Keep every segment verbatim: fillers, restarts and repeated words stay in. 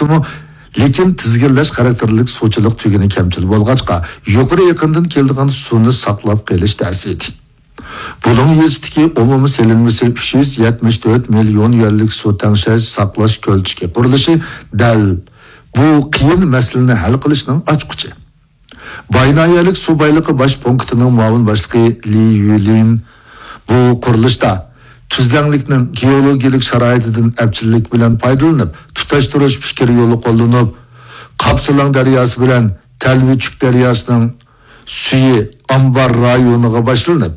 بولسىمۇ، لېكىن تىزگىنلەش خاراكتېرلىك سۇچىلىق تۈگۈنى كەمچىل بولغاچقا، يۇقىرى ئېقىندىن كېلىدىغان سۇنى ساقلاپ قېلىش تەس ئىدى. بۇلۇڭ يېزىسىدىكى ئومۇمىي سېلىنمىسى ئۈچ يۈز يەتمىش تۆت مىليون يۈەنلىك سۇ تەڭشەش، ساقلاش كۆلچىكى قۇرۇلۇشى دەل بۇ قىيىن مەسىلىنى ھەل قىلىشنىڭ ئاچقۇچى. باي ناھىيەلىك سۇ بايلىقى باش پونكىتىنىڭ مۇئاۋىن باشلىقى لى يۈلىن بۇ قۇرۇلۇشتا تۈزلەڭلىكنىڭ گېئولوگىيەلىك شارائىتىدىن ئەپچىللىك بىلەن پايدىلىنىپ، تۇتاشتۇرۇش پىكرى يولى قوللىنىپ، قاپسىلاڭ دەرياسى بىلەن تەلۋىچۈك دەرياسىنىڭ سۈيى ئامبار رايونىغا باشلىنىپ،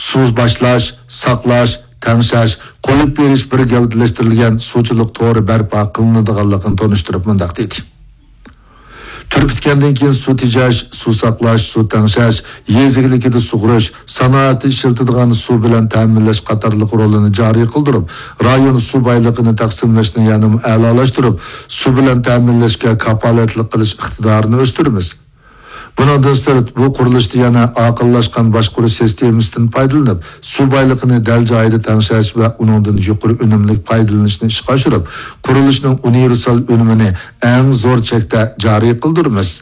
سۇ باشلاش، ساقلاش، تەڭشەش، قويۇپ بېرىش بىر گەۋدىلەشتۈرۈلگەن سۇچىلىق تورى بەرپا قىلىنىدىغانلىقىنى تونۇشتۇرۇپ مۇنداق دېدى: تۈر پۈتكەندىن كېيىن سۇ تېجەش، سۇ ساقلاش، سۇ تەڭشەش، يېزا ئىگىلىكىدە سۇغىرىش، سانائەتتە ئىشلىتىدىغان سۇ بىلەن تەمىنلەش قاتارلىق رولىنى جارى قىلدۇرۇپ، رايون سۇ بايلىقىنى تەقسىملەشنى يەنىمۇ ئەلالاشتۇرۇپ، سۇ بىلەن تەمىنلەشكە كاپالەتلىك قىلىش ئىقتىدارىنى ئۆستۈرىمىز. بۇنىڭدىن سىرت، بۇ قۇرۇلۇشتا يەنە ئاقىللاشقان باشقۇرۇش سىستېمىسىدىن پايدىلىنىپ، سۇ بايلىقىنى دەل جايىدا تەڭشەش ۋە ئۇنىڭدىن يۇقىرى ئۈنۈملۈك پايدىلىنىشنى ئىشقا ئاشۇرۇپ، قۇرۇلۇشنىڭ ئۇنىۋېرسال ئۈنۈمىنى ئەڭ زور چەكتە جارى قىلدۇرىمىز.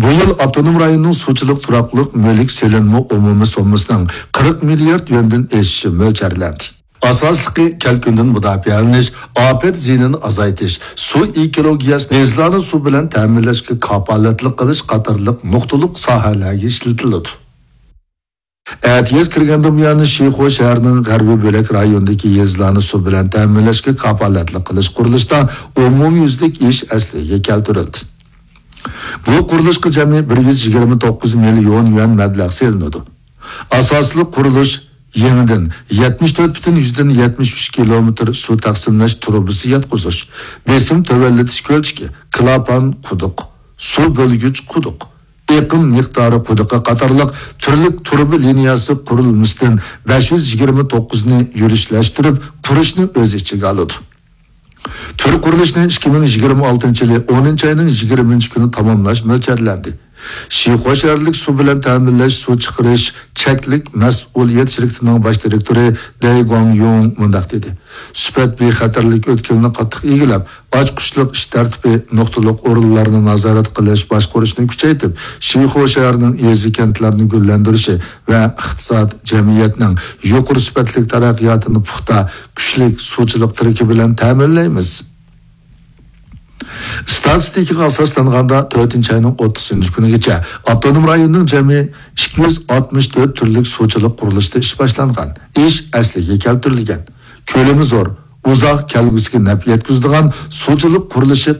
بۇ يىل ئاپتونوم رايوننىڭ سۇچىلىق تۇراقلىق مۈلۈك سېلىنما ئومۇمىي سوممىسىنىڭ قىرىق مىليارد يۈەندىن ئېشىشى مۆلچەرلەندى. ئاساسلىقى كەلكۈندىن مۇداپىئەلىنىش، ئاپەت زىيىنىنى ئازايتىش، سۇ ئېكولوگىيەسىنى، يېزىلارنى سۇ بىلەن تەمىنلەشكە كاپالەتلىك قىلىش قاتارلىق نۇقتىلىق ساھەلەرگە ئىشلىتىلىدۇ. ئەتىياز كىرگەندىن بۇيان، شىخۇ شەھىرىنىڭ غەربىي بۆلەك رايونىدىكى يېزىلارنى سۇ بىلەن تەمىنلەشكە كاپالەتلىك قىلىش قۇرۇلۇشىدا ئومۇميۈزلۈك ئىش ئەسلىگە كەلتۈرۈلدى. بۇ قۇرۇلۇشقا جەمئىي بىر يۈز يىگىرمە توققۇز مىليون يۈەن مەبلەغ سېلىنىدۇ. ئاساسلىق قۇرۇلۇش يېڭىدىن يەتمىش تۆت پۈتۈن يۈزدىن يەتمىش ئۈچ كىلومېتىر سۇ تەقسىملەش تۇرۇبىسى ياتقۇزۇش، بېسىم تۆۋەنلىتىش كۆلچىكى، كلاپان قۇدۇق، سۇ بۆلگۈچ قۇدۇق، ئېقىم مىقدارى قۇدۇقى قاتارلىق تۈرلۈك تۇرۇبا لىنىيەسى قۇرۇلمىسىدىن بەش يۈز يىگىرمە توققۇزنى يۈرۈشلەشتۈرۈپ قۇرۇشنى ئۆز ئىچىگە ئالىدۇ. تۈر قۇرۇلۇشىنى ئىككى مىڭ يىگىرمە ئالتىنچى يىلى ئونىنچى ئاينىڭ يىگىرمىنچى كۈنى تاماملاش مۆلچەرلەندى. شىخۇا شەھەرلىك سۇ بىلەن تەمىنلەش، سۇ چىقىرىش چەكلىك مەسئۇلىيەت شىركىتىنىڭ باش دىرېكتورى دەي گۇاڭيۇڭ مۇنداق دېدى: سۈپەت بىخەتەرلىك ئۆتكىلىنى قاتتىق ئىگىلەپ، ئاچقۇچلۇق ئىش تەرتىپى، نۇقتىلىق ئورۇنلارنى نازارەت قىلىش، باشقۇرۇشنى كۈچەيتىپ، شىخۇا شەھىرىنىڭ يېزا، كەنتلەرنى گۈللەندۈرۈشى ۋە ئىقتىساد، جەمئىيەتنىڭ يۇقىرى سۈپەتلىك تەرەققىياتىنى پۇختا، كۈچلۈك سۇچىلىق تىرىكى بىلەن تەمىنلەيمىز. ئىستاتىستىكىغا ئاساسلانغاندا، تۆتىنچى ئاينىڭ ئوتتۇزىنچى كۈنىگىچە ئاپتونوم رايوننىڭ جەمئىي ئىككى يۈز ئاتمىش تۆت تۈرلۈك سۇچىلىق قۇرۇلۇشىدا ئىش باشلانغان، ئىش ئەسلىگە كەلتۈرۈلگەن، كۆلىمى زور، ئۇزاق، كەلگۈسىگە نەپ يەتكۈزىدىغان سۇچىلىق قۇرۇلۇشى